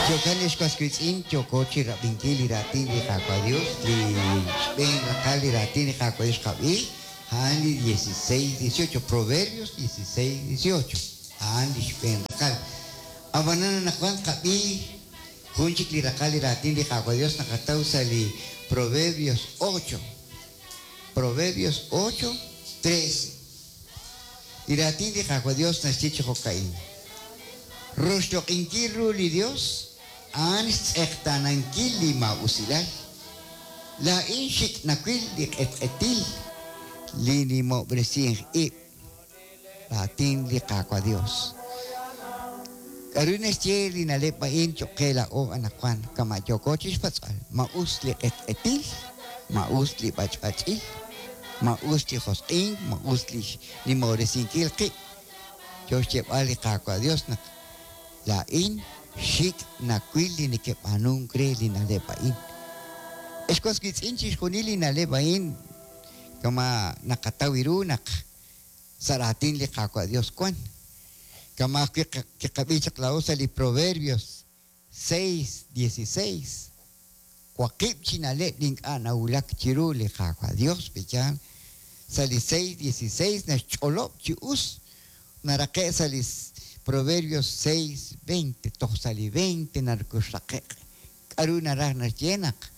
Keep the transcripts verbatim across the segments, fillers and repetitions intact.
Jo'kan ex was wiitz'in yooko chi rab'inkil li raatin li Qaawa' Dios, li xb'een raqal li raatin li Qaawa' Dios xqab'i, a'an li dieciséis dieciocho, Proverbios dieciséis dieciocho, a'an li xb'een raqal. Ab'anan anaqwan qab'i jun chik li raqal li raatin li Qaawa' Dios naqataw sa' li Proverbios ocho, Proverbios ocho trece. Li raatin li Qaawa' Dios naxye chi jo'ka'in. Roxloq'inkil ru li Dios a'an xtz'eqtaanankil li maa'usilal. Laa'in xik' nawil li q'etq'etil li nimob'resink ib'. Raatin li Qaawa' Dios. K'aru naxye li na'leb' a'in cho'q qe laa'o anaqwan kama' yooko chi xpatz'b'al. Ma'us li q'etq'etil, ma'us li b'ach'b'ach'il, ma'us li josq'ink, ma'us li nimob'resinkil qib'. Yo xyeeb'al li Qaawa' Dios naq laa'in xik' nawil li neke'b'aanunk re li na'leb' a'in. Ex was wiitz'in chixjunil li na'leb' a'in kama naqataw ru naq sa' raatin li Qaawa' Dios wan. Kama ajwi' kiqab'i chaq laa'o sa' li Proverbios seis dieciséis. Waqib' chi na'leb' li ink'a' nawulak chiru li Qaawa' Dios b'iyaan. Sa' li seis dieciséis naxch'olob' chi us naraqe' sa' li Proverbios seis veinte, toj sa' li veinte narkuxraqe'q. K'aru naraj naxye naq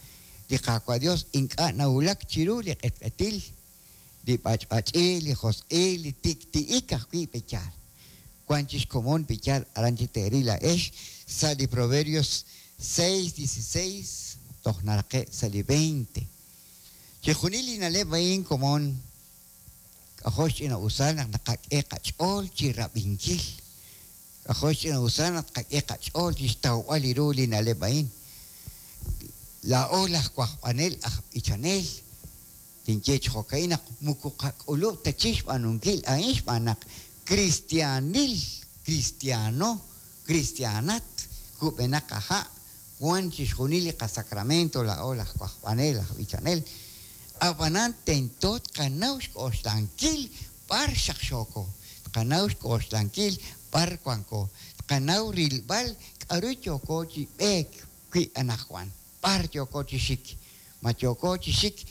li Qaawa' Dios ink'a' nawulak chiru li q'etq'etil, li b'ach'b'ach'il, li josq'il, li tikti'ik ajwi' b'eyaal. Wan chi xkomon b'eyaal aran chi teeril la'ex sa' li Proverbios seis dieciséis toj naraqe' sa' li veinte. Chixjunil li na'leb' a'in komon k'ajo' xch'ina'usal naq naqak'e qach'ool chi rab'inkil. K'ajo' xch'ina'usal naq qak'e qach'ool chi xtawb'al li ru li na'leb' a'in. Laa'o laj wajb'anel aj b'ichanel tinye chi jo'ka'in naq muku qak'ulub' ta chi xb'aanunkil a'in xb'aan naq cristianil, cristiano, cristianat, kub'enaq aja' wan chixjunil li qasacramento laa'o laj wajb'anel aj b'ichanel. Ab'anan tento tqanaw xk'oxlankil b'ar xaqxooko, tqanaw xk'oxlankil b'ar wanko, tqanaw rilb'al k'aru yooko chi b'eek wi' anaqwan, b'ar yooko chi xik, ma yooko chi xik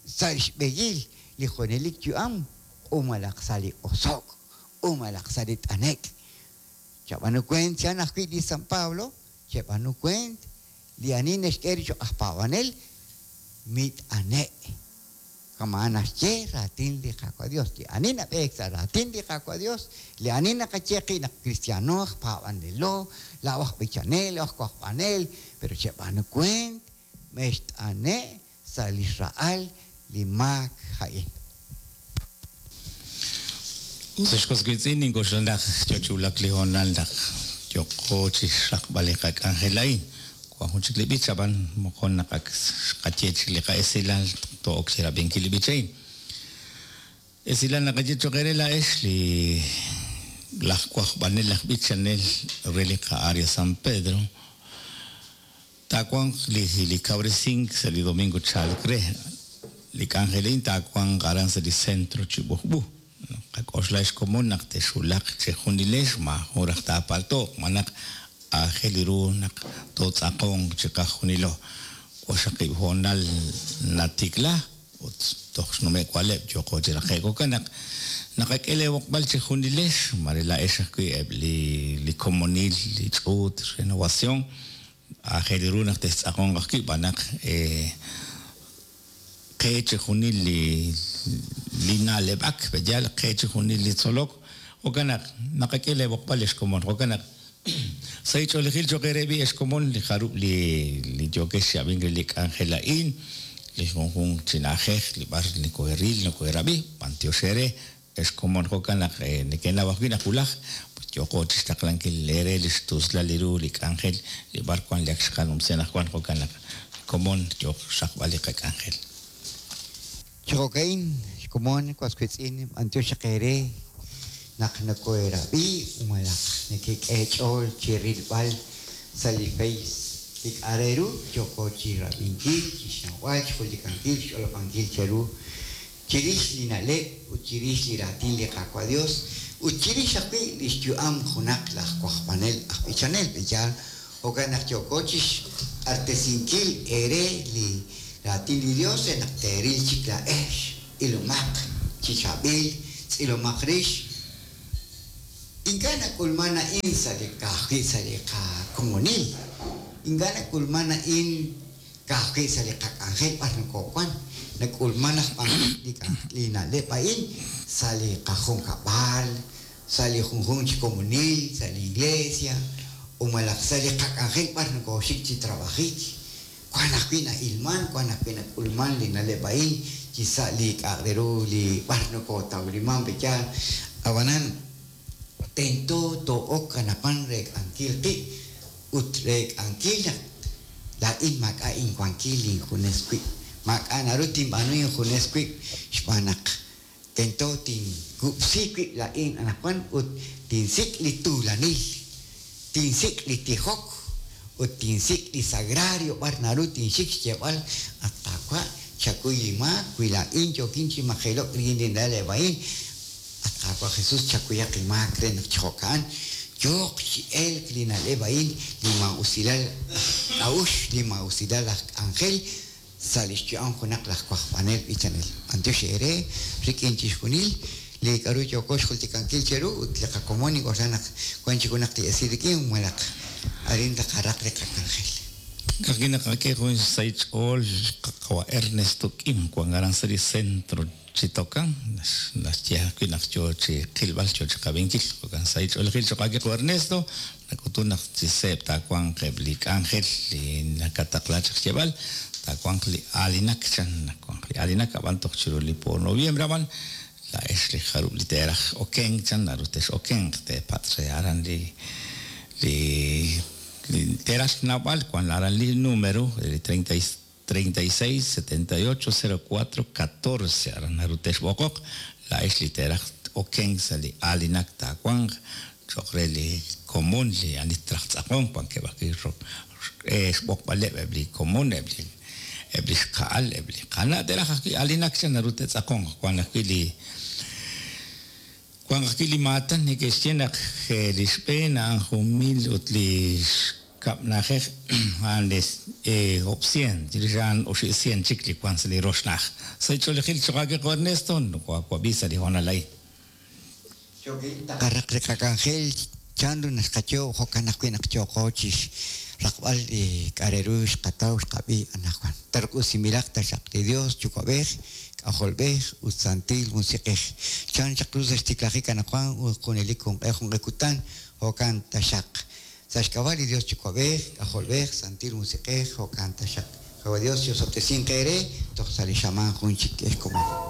sa' xb'eyil li junelik yu'am umalaq sa' li oso'k, umalaq sa' li t'anek'. Chab'anu kuent chan ajwi' li San Pablo, chab'anu kuent li ani naxk'e ri cho'q aj paab'anel mit'ane'. Kama naxye raatin li Qaawa' Dios, li ani nab'eek sa' raatin li Qaawa' Dios, li ani naqaye qi' naq cristiano aj paab'anelo, laa'o aj b'ichanel, aj wajb'anel, pero chab'anu kuent mext'ane' sa' li xra'al li maak a'in. Sa' xk'oswitz'in nink'oxla naq yochulak li hoonal naq yooko chi xraqb'al li qak'anjel a'in. Wan jun chik li b'ich ab'an moqon naq ak xqaye chik li qa'esilal to'ok chi rab'inkil li b'ich a'in. Esilal naqaye cho'q re la'ex li laj wajb'anel laj b'ichanel re li qa'área San Pedro taawanq li li kawresink sa' li domingo chalk re li k'anjelin taawanq aran sa' li centro Chibujb'u. Qak'oxla xkomon naq texulaq chejunilex maajun raj taapalto'q manaq aajel ru naq tootz'aqonq chiqajunilo. Waxaqib' hoonal natikla ut toj xnume' waleb' yooko chi raqe'k. Jo'kan naq naqak'e leewoqb'al chejunilex mare la'ex ajwi' eb' li li komonil li ch'uut renovación aajel ru naq textz'aqonq ajwi' b'an naq qe chejunil li li na'leb'ak b'eyal qe chejunil li tzolok. Jo'kan naq naqak'e leewoqb'al ex komon. Jo'kan naq sa' ich'oolejil cho'q re b'i ex komon li jarub' li li yookex xyab'ink re li k'anjel a'in li junjunq chi na'ajej li b'ar nikoheril nikoherab'i b'antiox ere ex komon. Jo'kan naq neke'naw ajwi' naq wulaj yooko chi xtaqlankil ere li xtuslal li ru li k'anjel li b'ar wan li ak xqanumsi anaqwan. Jo'kan naq komon yooq xraqb'al li qak'anjel. Jo'kain xkomon waswitz'in b'antiox ere naq nakoherab'i umalaq nekek'e ch'ool chi rilb'al sa' li Face li k'a' ru yooko chi rab'inkil chi xnawb'al xjultikankil xch'olob'ankil cheru chirix li na'leb' ut chirix li raatin li Qaawa' Dios ut chirix ajwi' li xyu'am junaq laj wajb'anel aj b'ichanel b'eyal. Jo'kan naq yooko chixq'artesinkil eere li raatin li Dios re naq teeril chik laa'ex, ilomaq chi chaab'il, tz'ilomaq rix. Ink'a' nak'ulman a'in sa' li ka'ajwi' sa' li qakomonil. Ink'a' nak'ulman a'in ka'ajwi' sa' li qak'anjel b'ar nokoowan. Nak'ulman aj b'an li li na'leb' a'in sa' li qajunkab'al, sa' li junjunq chi komonil, sa' li iglesia, o malaj sa' li qak'anjel b'ar nokooxik chi trabajik. Wan ajwi' na'ilman, wan ajwi' nak'ulman li na'leb' a'in chi sa' li k'a'aq re ru li b'ar nokootawliman pe'yaal. Ab'anan tento too'ok anaqwan reek'ankil qib' ut reek'ankil naq laa'in maak'a' inwankil injunes wib'. Maak'a' naru tinb'aanu injunes wib' xb'aan naq tento tinkub'si wib' laa'in anaqwan ut tinsik' li tuulanil, tinsik' li tijok ut tinsik' li sagrario b'ar naru tinxik xyeeb'al at Qaawa' chakuy li maak wi laa'in yookin chi majelo'k rik'in li na'leb' a'in. At Qaawa' Jesus chakuyaq inmaak re naq chi jo'ka'an yooq chi elk li na'leb' a'in li maa'usilal aj k'a'uxl, li maa'usilal aj k'anjel sa' li xyu'am junaq laj wajb'anel b'ichanel. B'antiox eere rik'in chixjunil li k'a'ru yooko xjultikankil cheru ut li qakomon ink'oxla naq wan chik junaq li esil rik'in malaq arin taqaraq li qak'anjel. Ka'ajwi' naqak'e jun xsahil ch'ool qawa Ernesto Kim wan aran sa' li centro Chitocan naxye ajwi' naq yoo chi qilb'al yoo chi qab'inkil jo'kan sahil ch'oolejil cho'q aawe qawa Ernesto nak'utun naq chi seeb' taawanq eb' li k'anjel li nakataqla chaq xyeeb'al taawanq li aalinak chan nawanq li aalinak ab'an toj chiru li po noviembre ab'an laa'ex li jarub' li teeraj okenk chan naru texokenq teepatz' re aran li li li teeraj xnawb'al wan aran li número li treinta y seis setenta y ocho cero cuatro catorce aran naru texb'oqoq laa'ex li teeraj okenk sa' li aalinak taawanq cho'q re li komon li ani traj tz'aqonk wankeb' ajwi' xb'oqb'aleb' eb' li komon eb' li eb' li xqa'al eb' li qana' teeraj ajwi' aalinak chan naru te'tz'aqonq wan ajwi' li wan ajwi' li maatan neke'xye naq li xb'een a'an jun mil ut li xkab' na'ajej a'an li ob'cien chirix a'an oxi'cien chik li wan sa' li rox na'aj. Sa' ch'oolejil cho'q aawe qawa Ernesto nokowawab'i sa' li hoonal a'in. Taqaraq li qak'anjel chanru naxqayo' jo'kan ajwi' naq yooqo chixraqb'al li k'a' re ru xqataw xqab'i anaqwan. Tark'usinb'ilaq taxaq li Dios Yuwa'b'ej, K'ajolb'ej ut Santil Musiq'ej. Chan chaq ru sa' xtiklajik anaqwan ut junelik junq'e junq'e kutan jo'kan taxaq. Sa' xk'ab'a' li Dios Yuwa'b'ej, K'ajolb'ej, Santil Musiq'ej jo'kan taxaq. Qawa Dios yosob'tesinq eere toj sa' li xamaan jun chik ex komon.